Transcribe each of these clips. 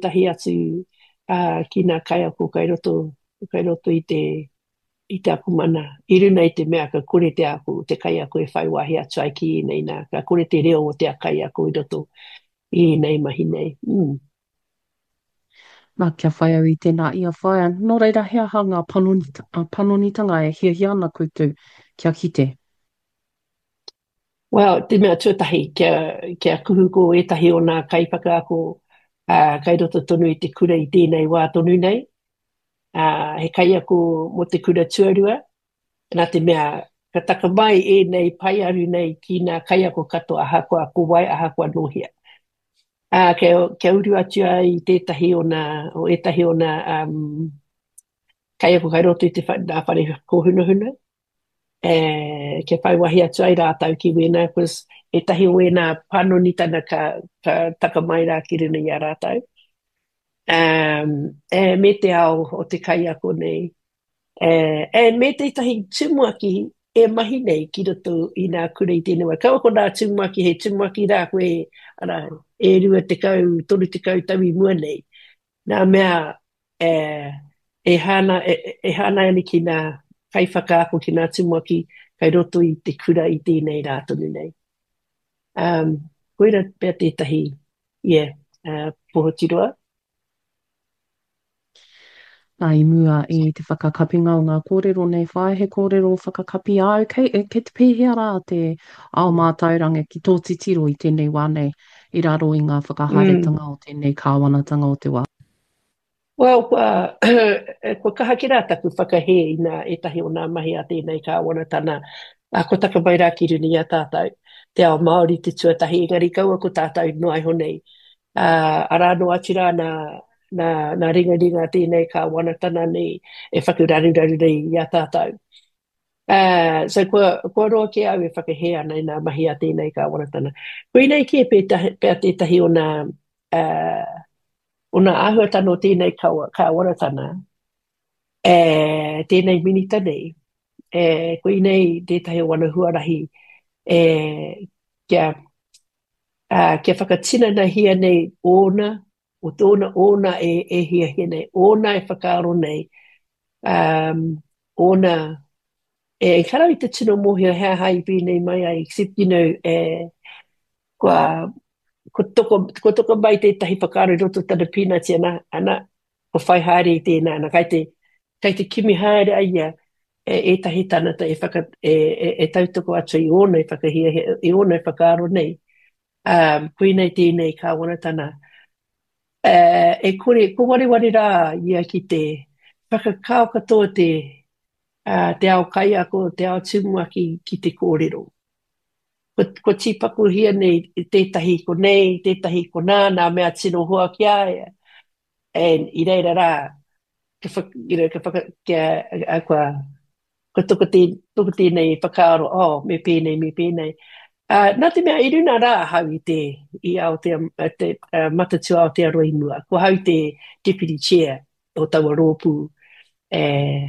ētahi atu ki nā kaiako kai roto, kai roto i te, i te akomana, i runa i te mea ka kore te ako, te kaiako e whai wāhi atu ai ki ēnei nā, ka kore te reo o te kaiako i roto i ēnei mahi nei. Mm. Nā, kia whai au i tēnā ia whaea. Nō reira, he aha ngā panonitanga e hiahia ana koutou kia kite? Well, te mea tuatahi, kia, kia kuhu ko ētahi o nā kaiwhakaako ā, kai roto tonu i te kura i tēnei wā tonu nei. Ā, he kaiako mō te kura tuarua, nā te mea ka taka mai ēnei paearu nei ki nā kaiako katoa ahakoa ko wai, ahakoa nō hea. Ā, kia, kia uru atu ai tētahi o nā, o ētahi o nā um, kaiako kai roto i te wha, nā whare kōhunahuna, e, kia whai wahi atu ai rātou ki wēnā, cause ētahi o wēnā panonitana ka, ka taka mai rā ki runa i a rātou. Um, e, me te ao o te kaiako nei. E, and me tētahi tumuaki e mahi nei ki roto i nā kura i tēnei wā. Kaua ko nā tumuaki, he tumuaki rā koe, ara, e 20, 30 tau i mua nei. Nā mea, e, e hāna, e, e hāngai ana ki nā kaiwhakaako, ki nā tumuaki kai roto i te kura i tēnei rā tonu nei. Um, koira pea tētahi, yeah, uh, Pohotiroa. Nā, i mua i te whakakapinga o ngā kōrero nei, whāia he kōrero whakakapi āu, kei, kei te pēhea rā te ao mātauranga ki tō titiro i tēnei wā nei, i raro i ngā whakahaeretanga o tēnei kāwanatanga o te wā? Well, kua, kua kaha kē rā taku whakahē i nā ētahi o nā mahi a tēnei kāwanatana, ā, kua taka mai rā ki runga i a tātou, te ao Māori te tuatahi, engari kaua ko tātou noa iho nei. Ā, arā noa atu rā nā, nā, nā ringaringa tēnei kāwanatana nei e whakararuraru nei i a tātou. Ā, so kua, kua roa kē au e whakahē ana i nā mahi a tēnei kāwanatana. Koinei kē pētahi, pea tētahi o nā, ā, o nā āhuatana o tēnei kawa, kāwanatana, e, tēnei minita nei, e, koinei tētahi o ana huarahi e, kia, ā, kia whakatinanahia nei ōna, o tōna, ōna e, e hiahia nei, ōna e whakaaro nei, um, ōna, e, ehara i te tino mōhio he aha i pēnei mai ai, except, you know, e, kua, ko toko, ko toko mai tētahi whakaaro i roto tana pīnati, ana, ana, ko whai haere i tēnā, ana, kai te, kai te kimi haere a ia e ētahi tangata e, whaka, e, e, e tautoko atu i ōna e whakahiahia, i ōna e whakaaro nei, um, koinei tēnei kāwanatana. Uh, e kore, ko wareware rā ia ki te whakakao katoa te, uh, te ao kaiako, te ao tumuaki ki te kōrero. Ko, ko tīpakohia nei tētahi ko nei, tētahi ko nā, nā mea tino hoa ki a ia. And i reira rā, ka whaka, you know, ka whaka, kia, a, kua, kua toko, tē, toko tēnei whakaaro, oh, me pēnei, me pēnei. Uh, nā te mea, i runa rā ahau i te, i Aotea, te uh, Matatū Aotearoa i mua. Ko ahau te deputy chair o taua rōpū eh,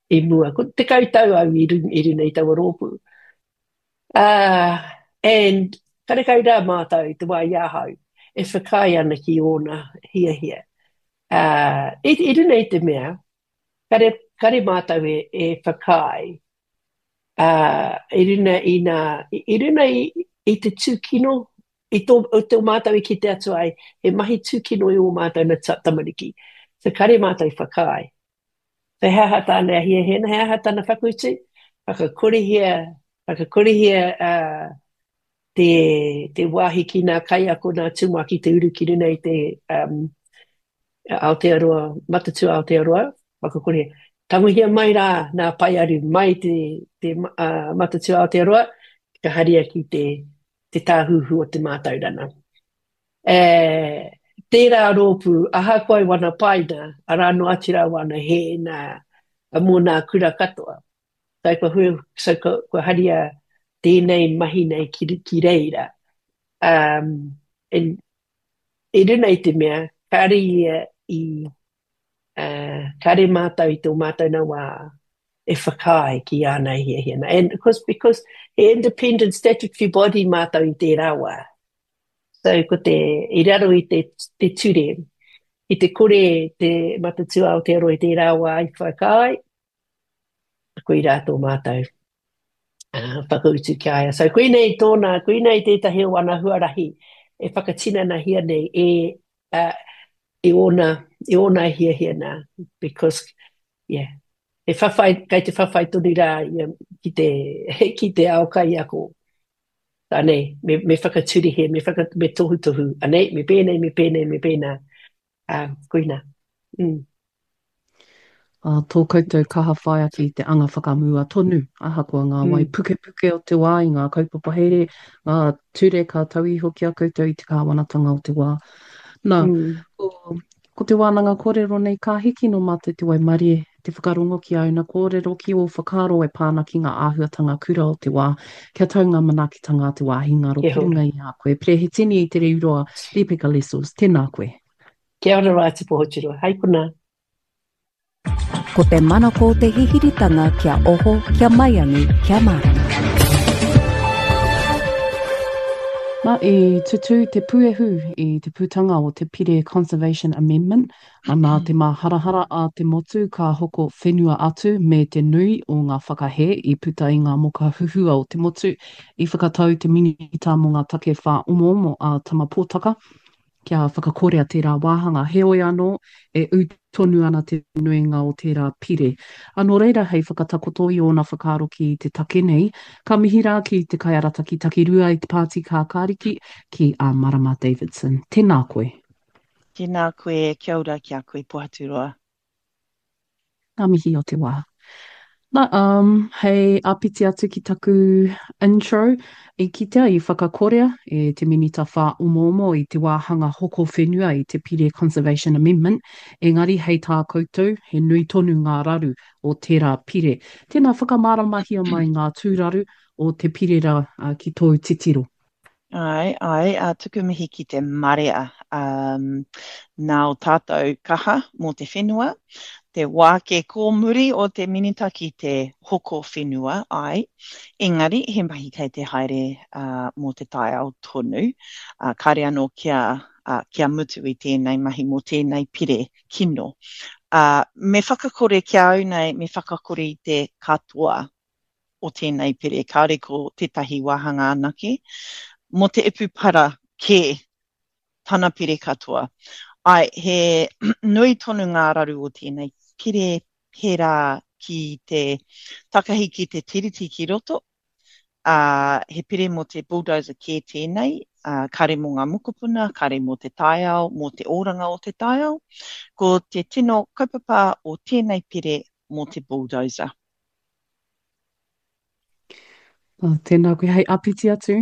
i mua. Ko 10 tau au i, runa, i runa i taua rōpū. Uh, and karekau rā mātou i te wā i ahau e whakaae ana ki ōna hiahia. Uh, i, i runa i te mea, kare, kare mātou e, e whakaae uh, i runa i, nā, i, i runa i, i te tūkino, i tō, i tō mātou i kite atu ai, he mahi tūkino i ō mātou na tamariki. So kare mātou i whakaae. So he aha tāna e hiahia ana, he aha tāna whakautu? Whakakorehia, whakakorehia uh, te, te wāhi ki ngā kaiako, ngā tumuaki te uru ki runa i te um, Aotearoa, Matatū Aotearoa, whakakorehia. Tangohia mai rā ngā paearu mai te, te uh, Matatū Aotearoa, ka haria ki te, te tāhuhu o te mātauranga. E, tērā rōpū, ahakoa i wana paina, arā noa atu rā wana hē nā, mō nā kura katoa. So, kua, hui, so, kua, kua haria tēnei mahi nei ki, ki reira. Um, and, i runa i te mea, kāre ia i, uh, kāre mātou i tō mātou nā wā e whakaae ki āna hiahia. And because, because he independent statutory body mātou i tērā wā. So ko te, i raro i te, te ture. Ki te kore te Matatū Aotearoa i tērā wā i whakaae, koirā tō mātou whakautu ki a ia. So koinei tōna, koinei tētahi o ana huarahi e whakatinanahia nei e, uh, e ōna, e ōna hiahia nā, because, yeah, e whawhai, kei te whawhai tonu rā ia ki te, ki te ao kaiako. Anei, me, me whakaturihe, me, whaka, me tohutohu, anei, me pēnei, me pēnei, me pēnā. Ā, koina. Mm. Ā, tō koutou kaha whai ake i te anga whakamua tonu, ahakoa ngā wai mm. pukepuke o te wā i ngā kaupapa here, ngā ture ka tau iho ki a koutou i te kāwanatanga o te wā. Nā, mm. ko, ko te wānanga kōrero nei ka hiki nō mātou te waimarie, te whakarongo ki āuna kōrero, ki ō whakaaro e pā ana ki ngā āhuatanga kura o te wā, kia tau ngā manaakitanga a te wāhi ngaro ki runga i a koe. Perehitini i Te Riuroa, Ripeka Lessels, tēnā koe. Kia ora rā te Pohoturoa. Hei konā. Ko te manako te hihiritanga kia oho, kia maiangi, kia mārama. Na, i tutū te puehu i te putanga o te Pire Conservation Amendment, nā te māharahara a te motu ka hoko whenua atu me te nui o ngā whakahē i puta i ngā moka huhua o te motu, i whakatau te Minita mō ngā Take Whāomoomo a Tama Potaka, kia whakakorea tērā wāhanga. Heoi anō, e ū tonu ana te nuinga o tērā pire. Ā, nō reira, hei whakatakoto i ōna whakaaro ki te take nei, ka mihi rā ki te kaiarataki takirua i te Pāti Kākāriki, ki a Marama Davidson. Tēnā koe. Tēnā koe, kia ora ki a koe Pohaturoa. Ngā mihi o te wā. Na, um, hei āpiti atu ki taku intro, i kitea i whakakorea e te Minita Whāomoomo i te wāhanga hoko whenua i te Pire Conservation Amendment, engari hei tā koutou, he nui tonu ngā raru o tērā pire. Tēnā whakamāramahia mai ngā tūraru o te pire rā ki tōu titiro. Āe, āe, ā, tuku mihi ki te marea, um, nā o tātou kaha mō te whenua, te wā ke kōmuri o te minita ki te hoko whenua, āe, engari he mahi kei te haere uh, mō te taiao tonu, uh, kāre anō kia, uh, kia mutu i tēnei mahi mō tēnei pire kino. Uh, me whakakore ki a au nei, me whakakore i te katoa o tēnei pere, kāore ko tētahi wāhanga anake, mō te ipu para kē tana pere katoa. Āe, he nui tonu ngā raru o tēnei pere pērā ki te takahi ki te tiriti ki roto, ā, he pere mō te bulldozer kē tēnei, ā, kāre mō ngā mokopuna, kāre mō te taiao, mō te oranga o te taiao. Ko te tino kaupapa o tēnei pere mō te bulldozer. Oh, tēnā koe hei apiti atu.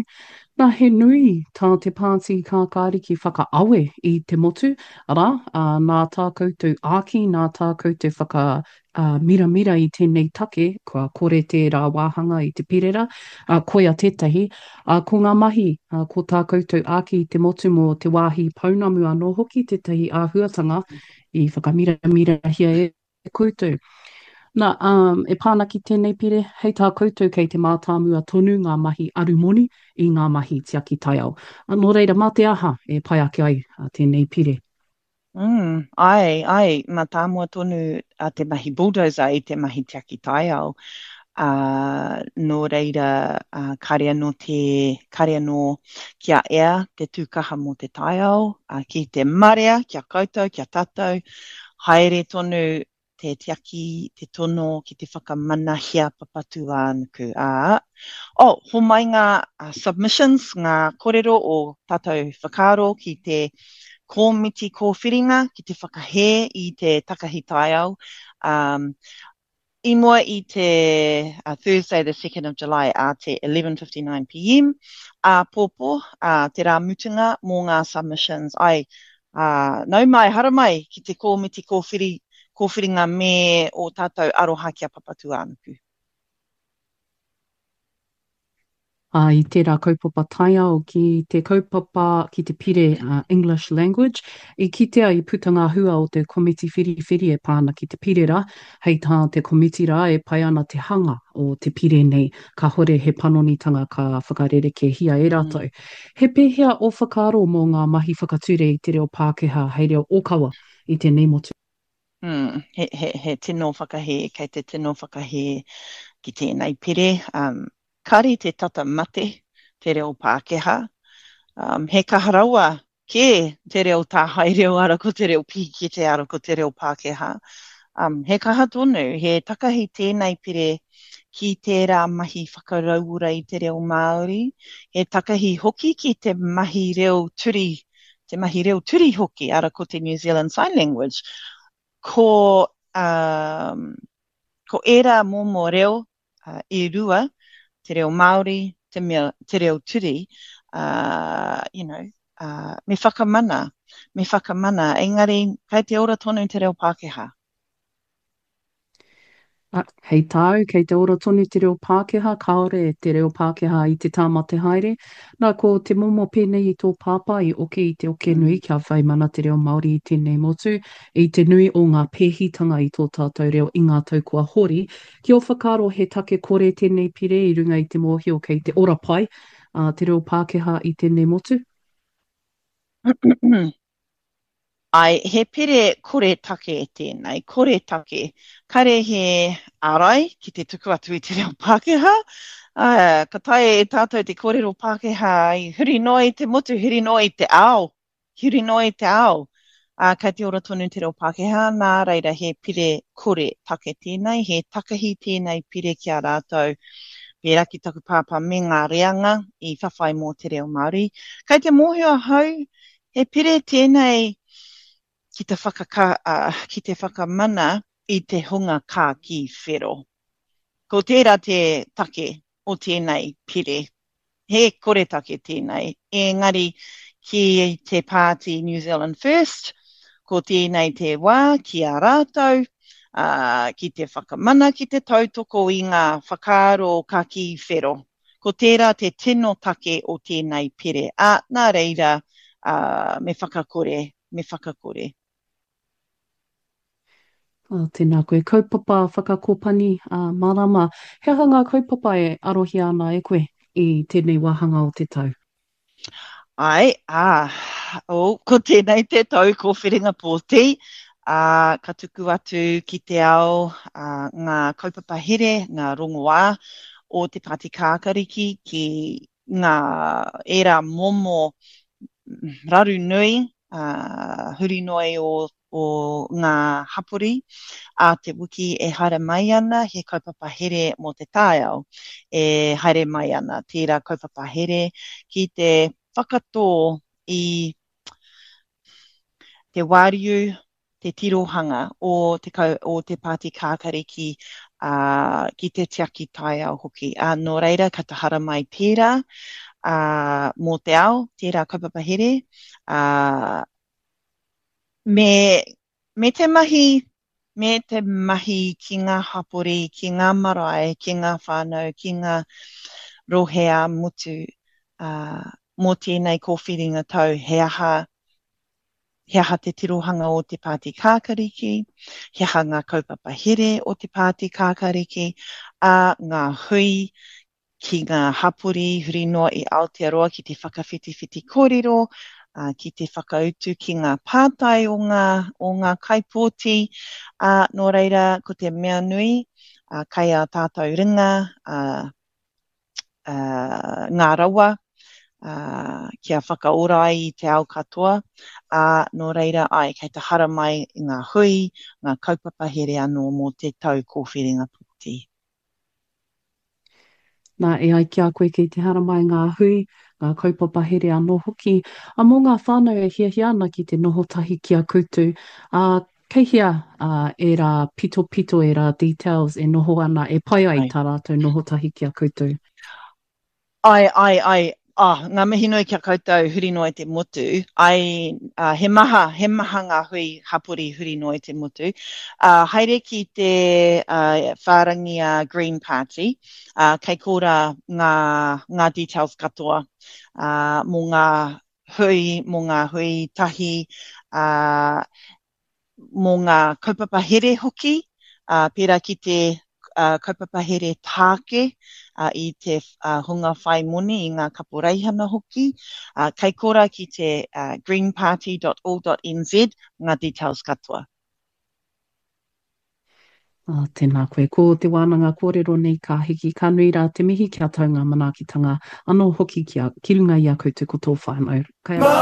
Nā, he nui tā te Pāti Kākāriki whakaawe i te motu, arā, ā, nā tā koutou āki, nā tā koutou whaka ā, miramira i tēnei take, kua kore tērā wāhanga i te perera, ā, koia tētahi, ā, ko ngā mahi, ā, ko tā koutou āki i te motu mō te wāhi pounamu anō hoki tētahi āhuatanga i whakamiramirahia e koutou. Nā, um, e pā ana ki tēnei pire, hei tā koutou kei te mātāmua tonu ngā mahi arumoni i ngā mahi tiaki taiao. Nō reira, mā te aha e pai ake ai tēnei pire? Mm, āe, āe, mātāmua tonu a te mahi bulldozer i te mahi tiaki taiao. Ā, nō reira, ā, kāre anō te, kāre anō kia ea te tūkaha mō te taiao, ā, ki te marea, ki a koutou, ki a tātou, Haere tonu te tiaki, te tono ki te whakamanahia Papatūānuku, ā, oh, homai ngā submissions, ngā korero o tātou whakaaro ki te kōmiti kōwhiringa ki te whakahē i te takahi taiao, um, I mua i te Thursday the 2nd of July ā te 11.59 pm āpōpō, ā, te rā mutunga mō ngā submissions. Ai, ā, nau mai, haramai ki te kōmiti kōwhiri, kōwhiringa me ō tātou aroha ki a Papatūānuku. Ā, i tērā kaupapa taiao ki te kaupapa, ki te pire English Language, i kitea i puta ngā hua o te komiti whiriwhiri e pā ana ki te pire rā. Hei tā te komiti rā e pai ana te hanga o te pire nei, kāhore he panonitanga ka whakarerekēhia e rātou. He pēhea ō whakaaro mō ngā mahi whakature i te reo Pākehā hei reo ōkawa? i tēnei motu. Mm, he, he, he tino whakahē, kei te tino whakahē ki tēnei pere. Um, kare te tata mate te reo Pākehā. Um, he kaha rawa kē te reo tāhae reo ara ko te reo pīkete ara ko te reo Pākehā. Um, he kaha tonu, he takahi tēnei pere ki tērā mahi whakarauora i te reo Māori, he takahi hoki ki te mahi reo turi, te mahi reo turi hoki, ara ko te New Zealand Sign Language. Ko, um, ko ērā momo reo uh, e rua, te reo Māori, te, mea, te reo turi, uh, you know, uh, me whakamana, me whakamana, engari kei te ora tonu te reo Pākehā. A, hei tāu, kei te ora tonu te reo Pākehā, kāore te reo Pākehā i te tāmate haere. Nā, ko te momo pēnei i tō pāpā i oke i te oke nui kia whai mana te reo Māori i tēnei motu, i te nui o ngā pēhitanga i tō tātou reo i ngā tau kua hori. Ki ō whakaaro he take kore tēnei pire i runga i te mōhio kei te ora pai te reo Pākehā i tēnei motu? Āe, he pire kore take tēnei, kore take. Kare he ārai ki te tuku atu i te reo Pākehā. Ā, ka taea e tātou te kōrero Pākehā i huri noa i te motu, huri noa i te ao, huri noa i te ao. Ā, kei te ora tonu te reo Pākehā, nā reira he pire kore take tēnei, he takahi tēnei pire ki a rātou, pērā ki taku pāpā me ngā reanga i whawhai mō te reo Māori. Kei te mōhio ahau, He pire tēnei ki te whakaka, ki te whakamana i te hunga kākī whero. Ko tērā te take o tēnei pire. He koretake tēnei, engari ki te pāti New Zealand First, ko tēnei te wā ki a rātou, ā, ki te whakamana, ki te tautoko i ngā whakaaro kakī whero. Ko tērā te tino take o tēnei pere, ā, nā reira, ā, me whakakore, me whakakore. Ā, tēnā koe. Kaupapa whakakopani, ā, marama. He aha ngā kaupapa e arohia ana e koe i tēnei wāhanga o te tau? Āe, ā, oh, ko tēnei te tau kōwhiringa pōti, ā, ka tuku atu ki te ao ā, ngā kaupapa here, ngā rongoā o te Pāti Kākariki ki ngā ērā momo raru nui, ā, huri noa i o o ngā hapori ā te wiki e haere mai ana he kaupapa here mō te taiao e haere mai ana tērā kaupapa here ki te whakatō i te wāriu, te tirohanga o te, o te Pāti Kākariki ā, ki te tiaki taiao hoki. Ā, nō reira ka tahara mai tērā ā, mō te ao, tērā kaupapa here, ā, Me, me te mahi, me te mahi ki ngā hapori, ki ngā marae, ki ngā whānau, ki ngā rohe ā-motu, ā, mō tēnei kōwhiringa tau, he aha, he aha te tirohanga o te Pāti Kākariki, he aha ngā kaupapa here o te Pāti Kākariki, ā, ngā hui ki ngā hapori huri noa i Aotearoa ki te whakawhitiwhiti kōrero, ki te whakautu ki ngā pātai o ngā, o ngā kaipōti, ā, nō reira, ko te mea nui, ā, kai ā tātou ringa, ā, ā, ngā rawa, ā, kia whakaora ai i te ao katoa, ā, nō reira, āe, kei te haramai ngā hui, ngā kaupapa here anō mō te tau kōwhiringa pōti. Nā, e ai ki a koe kei te haramai ngā hui, ngā kaupapa here anō hoki, ā, mō ngā whānau e hiahia ana ki te noho tahi ki a koutou, ā, kei hea, ā, ērā pitopito, ērā details e noho ana, e pai ai tā rātou noho tahi ki a koutou? Ae, ae, ae, ah, ngā mihi nui ki a koutou huri noa i te motu. Ae, ah, he maha, he maha ngā hui hapori huri noa i te motu. Ah, haere ki te ah, whārangi a Green Party, ah, kei kōrā ngā, ngā details katoa ah, mō ngā hui, mō ngā hui tahi, ah, mō ngā kaupapa here hoki, ā, pērā ki te kaupapa here tāke i te hunga whai moni, i ngā kaporeihana hoki. Kei korā ki te greenparty.org.nz ngā details katoa. Oh, tēnā koe. Ko te wānanga kōrero nei ka hiki, ka nui rā te mihi kia tau ngā manaakitanga anō hoki ki, a, ki runga i a koutou ko tō whānau. Kai a...